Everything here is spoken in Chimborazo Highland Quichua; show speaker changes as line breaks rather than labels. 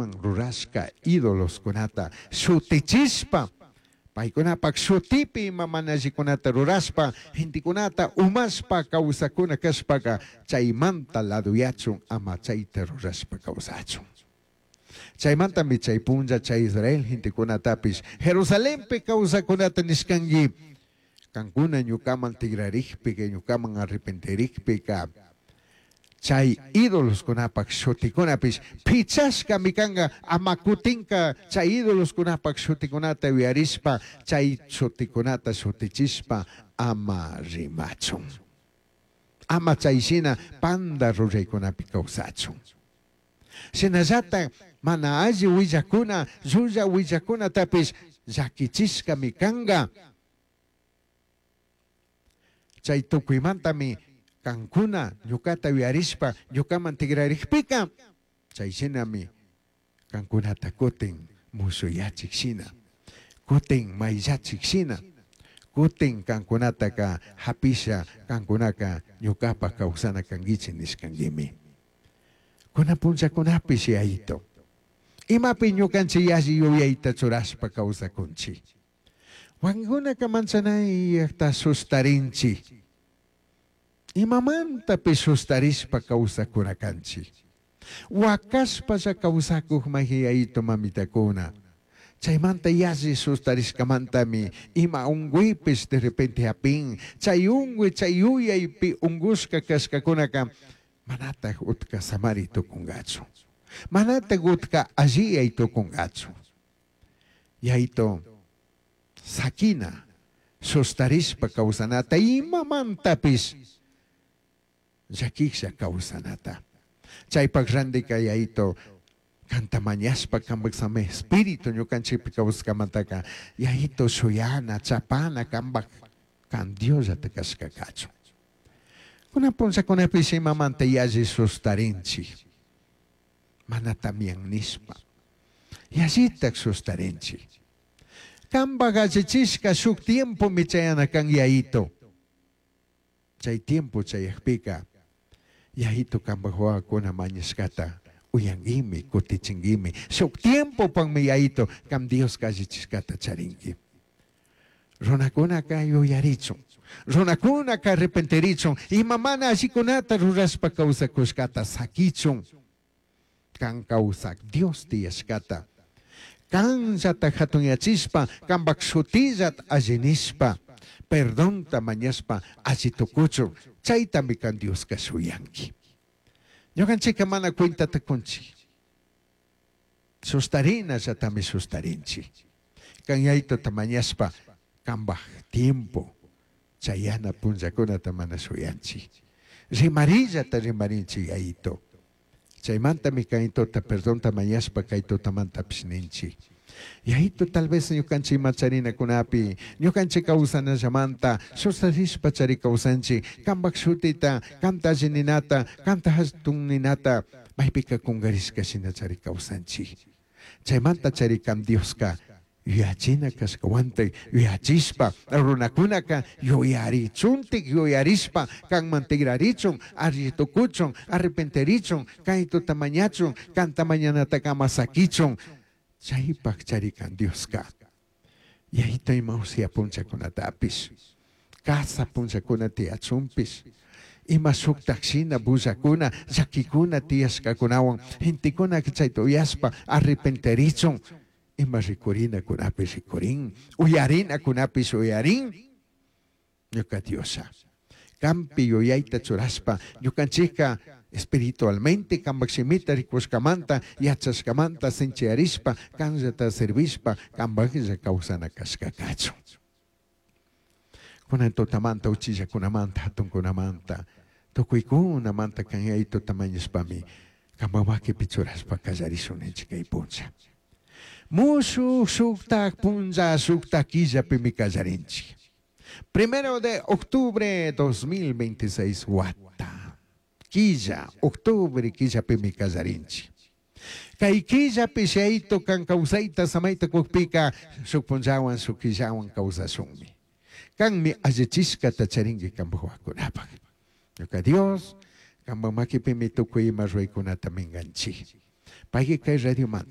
Paicunaman rurashca idoloscunata shutichishpa, paicunapac shutipi ima mana allicunata rurashpa, gentecunata umashpa causacuna cashpaca, chaimanta ladoyachun ama chaita rurashpa causachun. Chaimantami chai punlla chai Israel gentecunatapish Jerusalenpi causacunata nishcangui, cancuna ñucaman tigrarigpica, ñucaman arrepentirigpica, chai idoloscunapac shuticunapish pichashcami canga, ama cutinca chai idoloscunapac shuticunata uyarishpa, chai shuticunata shutichishpa ama rimachun. Ama chai shina panda ruraicunapi causachun. Shinallata mana alli huillacuna, llulla huillacunatapish llaquichishcami canga. Chai tucuimantami cancuna ñucata uyarishpa ñucaman tigrarigpica, chai shinami cancunata cutin mushuyachij shina, cutin maillachij shina, cutin cancunataca japisha cancunaca ñucapaj causana canguichij nishcanguimi. Cunan punllacunapish Yaito, imapi ñucanchik yalli yuyaita churashpa causacunchik. Huancunaca manchanayajta sustarinchik. Imamantapish sustarishpa causacuna canchik. Huacashpalla causacuj maji Yaito mamitacuna. Chaimanta yalli sustarishcamantami ima ungüipish de repente japin. Chay ungüi, chay yuyaipi ungushca cashcacunaca manataj utca samari tucungachu. Manataj utca alliyai tucungachu. Yaito, saquina, sustarishpa causanata imamantapish llaquijlla causanata. Chaypaj randika Yaito, canta mañashpa cambaj sami espíritu ñucanchikpi causashcamantaca Yaito shuyana, chapana cambaj can Diosllata cashca cachun. Cunan punllacunapish imamanta yalli sustarinchik, mana tamian nishpa, yallitaj sustarinchik. Cambaj allichishca shuk tiempomi chayana can Yaito. Chay tiempo chayajpika, Yaito cambaj wawakuna mañashcata uyanguimi, cutichinguimi. Shuk tiempopakmi Yaito can Dioska allichishcata charingui. Runakunaka yuyarichun, runakunaka arrepentirichun, ima mana allicunata rurashpa causacushcata saquichun, can causac Dios tiyashcata, canllata jatunyachishpa, cambac shutillata alli nishpa, perdonta mañashpa alli tucuchun, chaitami can Dioska shuyanqui. Ñucanchikka mana cuentata cunchik. Sustarinallatami sustarinchik. Can Yaitota mañashpa cambaj tiempo chayana punllacunata mana shuyanchik. Rimarillata rimarinchik Yaito. Chaimantami Yaitota perdonta mañashpa cay tutamantapish ninchik. Yaito tal vez ñucanchik ima charinacunapi, ñucanchik causanallamanta, sustarishpa chari causanchik, cambaj shutita, canta alli ninata, canta jatun ninata, maypika cungarishca shina chari causanchik. Chaimanta chari can Dioska yuyachina cashcahuantaj yuyachishpa, runakunaka yuyarichuntik yuyarishpa, canman tigrarichun, alli tucuchun, arrepentirichun, cay tuta mañachun, canta mañanataka ama saquichun. Chaypaj chari can Dioska. Yaito ima usia punllakunatapish, casa punllakuna tiyachunpish, ima shuktaj shina bullakuna, llaquikuna tiyashkakunawan, gentekuna chayta uyashpa arrepentirichun, ima rikurinakunapish rikurin, uyarinakunapish uyarin, ñuka Diosha. Campi yuyayta churashpa, ñukanchikka espiritualmente cambaj shimita rikushkamanta, yachashkamanta sinchiyarishpa, canllata servishpa, cambajlla causana cashka kachun. Kunan tutamanta, uchillakunamanta, hatunkunamanta, tukuykunamanta kan Yaitota mañashpami, cambaj maquipi churashpa kallarishun ninchik kay punlla. Mushuj shuktak punlla, shuktak killapimi kallarinchik. 1 de octubre 2026 wata. Quilla, octubre quillapimi kallarinchik. Kay killapi Yaito kan kawsayta samayta kukpika shuk punllawan shuk killawan kawsashunmi. Kanmi allichishkata charinki kanpak wawakunapak. Ñuka Dios, kanpak makipimi tukuy ima ruraykunata minkanchik. Payki kay radiomanta.